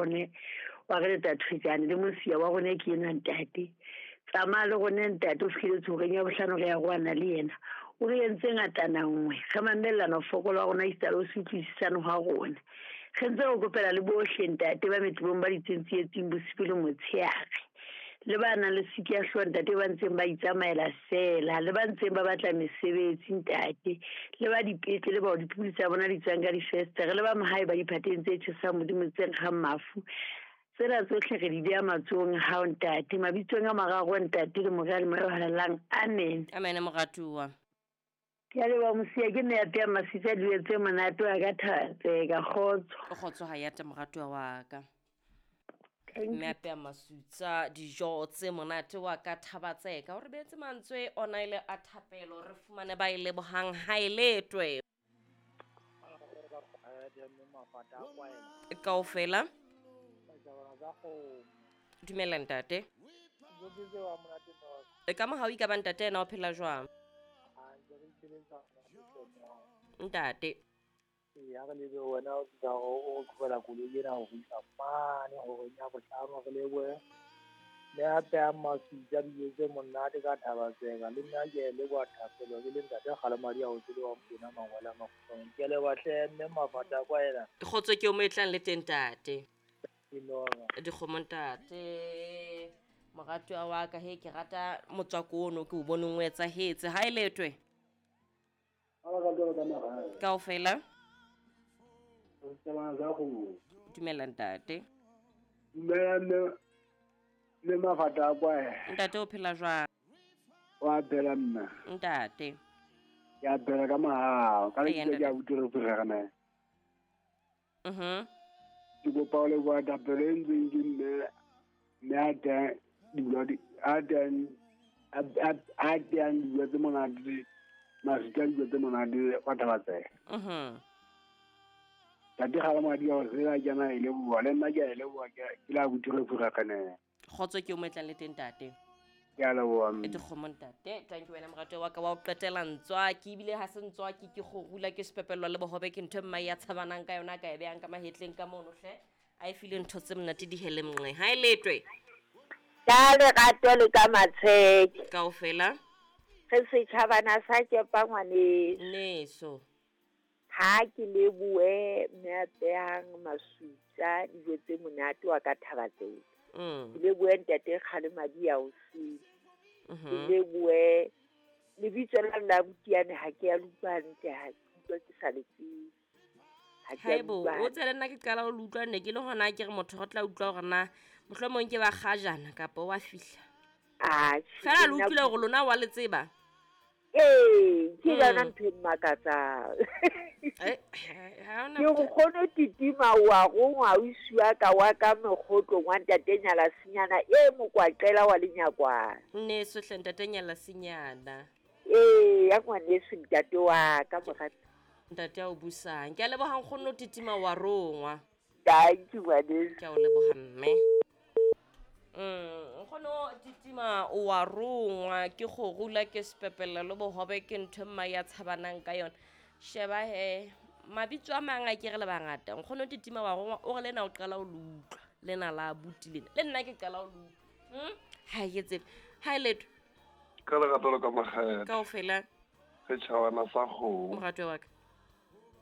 Rone wa re leta thwetsane le mosia wa rone ke enwa ntate. Tsamaya le rone ntate o fihlile tshoreng ya bohlano re ya roana le yena. O re entse ngatana nngwe re mamellana ho fokola wa rona esita le ho se utlwisisane hwa rona. Re ntse re kopela le bohle ntate ba metebong ba ditseng tsietsing bosibu le motsheare. Le ba nang le siki ya hlooho ntate ba ntseng ba itsamaela feela, le ba ntseng ba batla mesebetsi ntate, le ba dipetlele bao dipudi tsa bona di tswang ka difestere, le ba mahae ba diphateng tse tjhesang Modimo tse nkgang mafu. Tsena tsohle re di beha matsohong a hao ntate, mabitsong a mararo ntate le Mora le Moya o Halalelang. Amen. Amen moratuwa. Ke a leboha Mosia, ke mme ya peang masitsa dijo tse monate wa ka Thatseka. Kgotso. Kgotso ha ya te moratuwa wa ka. Mme a peang masutsa dijo tse monate wa ka Thabatseka. O re beetse mantswe ona ile a thapelo re fumane ba e lebohang ha e letwe. Kaofela. Dumela ntate. E ka mohau ka ba ntate ena o phela jwang? Ntate. Ya re lebe wena o tla o qhobela koloi ena ho isa mane horeng ya bohlano re lebohe. Mme a pehang maswitsa dijo tse monate ka Thabatseka le nna ke a leboha thapelo ke le ntate Kgalemadi a o tsebe wa Mpona mangwele a makgutshwane. Ke a leboha hle mme Mafata a kwaela. Kgotso ke o mo e tlang le teng ntate. Dikgomo ntate. Moratuwa wa ka he ke rata motswako ono ke o boneng o etsahetse. Ha e letwe. Kaofela. Dumela ntate. Dumela mme le Mafata a kwaela. Ntate o phela jwang? Wa phela mme. Ntate. Ke a phela ka mahao. Ka lebitso ke a utlwe re phela Mhm. Ke kopa ho leboha thapelo e ntseng ke mme mme a teng dijo a teng a teng dijo tse monate masika dijo tse monate wa Thabatseka. Mhm. Tate Kgalemadi a o sela kena e leboha le nna ke a e leboha ke la botire phurakganeng. Kgotso ke o mo e tlang le teng ntate. Ke a leboha mme. Dikgomo ntate, thank you wena morato wa ka wa o qetela ntswaki ebile ha se ntswaki ke kgorula ke sepepelwa le bohobe ke ntho e mmae ya tshabanang ka yona ka e behang ka mahetleng ka mono hle a e file ntho tse monate di hele mnqe ha e letwe. Ka lerato le ka matsheke. Kaofela. Re setjhabana sa tšepa ngwaneso. Neso. Ha ke lebohe mme a behang masutsa dijo tse monate wa ka Thabatseka. Ke lebohe ntate Kgalemadi ya o sele. Ke lebohe lebitso la la butiane ha ke ya le utlwa hantle ha ke utlwa ke sa le tsebe. Ha ke ya Haebo, utlwa o tsele nna ke qala ho le utlwa ne ke le hona ke re motho re tla utlwa hore na mohlomong ke ba kgajana kapa wa fihla. Atjhe, Fela le nna utlwile hore lona wa le tseba. Ee, ke yona ntho e mmakatsang. Ha hona Ke bothata. nkgono titima wa rongwa o isiwa ka wa ka mekgotlong wa ntate Nyalasinyana e mokwaqela wa lenyakwana. Nneso hle ntate Nyalasinyana. Ee, ya ngwaneso ntate wa ka morati. Ntate a o busang. Ke a leboha nkgono titima wa rongwa. Thank you ngwaneso. Ke a o leboha mme. Nkgono titima wa rongwa ke kgorula ke sepepela le bohobe ke ntho e mma ya tshabanang ka yona. Sheba he mabitso a mang a ke re le bangata. Nkgono titima wa rongwa o re lena o qala o le utlwa. Lena la abuti lena. Le nna ke qala o le utlwa. Ha ke tsebe. Ha e letho. Ka lerato le ka makgethe. Kaofela. Setjhabana sa kgomo. Moratwa wa ka.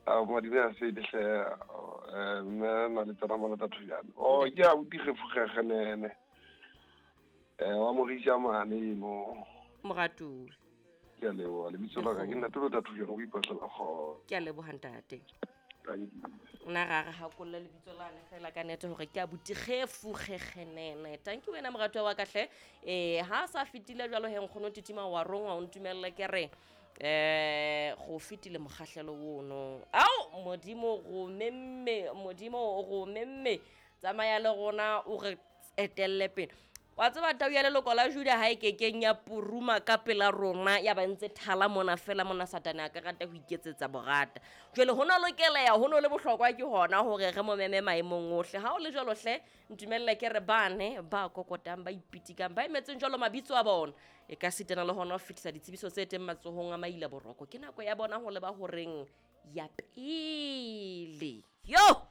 A madime a fele hle mme na le tsena mona Thujane. Oh ke a uti gefugege wa morisha mane mo. Moratuwa. Ke a leboha lebitso la ka ke nna Tolo Thujane o ipatlela kgotso. Ke a leboha ntate. Nna ra re hakolle lebitso lane fela ka nete hore ke a buti gefugegenene. Thank you wena moratuwa wa ka hle. Ha sa fetile jwalo he nkgono titima wa rongwa o ntumelle ke re go fetile mokgahlelo ono. Ao Modimo go memme, Modimo go memme. Tsamaya le rona o re etelle pele. Wa tseba tau ya leloko la Juda ha e kekeng ya puruma ka pela rona ya ba ntse thala mona fela mona Satane a ka rata ho iketsetsa borata. Jwale ho no lokeleha ho no le bohlokwa ke hona hore re mo meme maemong ohle. Ha o le jwalo hle ntumelle ke re bane ba kokotang ba ipitikang ba emetseng jwalo mabitso a bona. E ka sitana le hona ho fetisa ditsebiso tse teng matsohong a maila boroko. Ke nako ya bona ho leba horeng ya pele. Yo!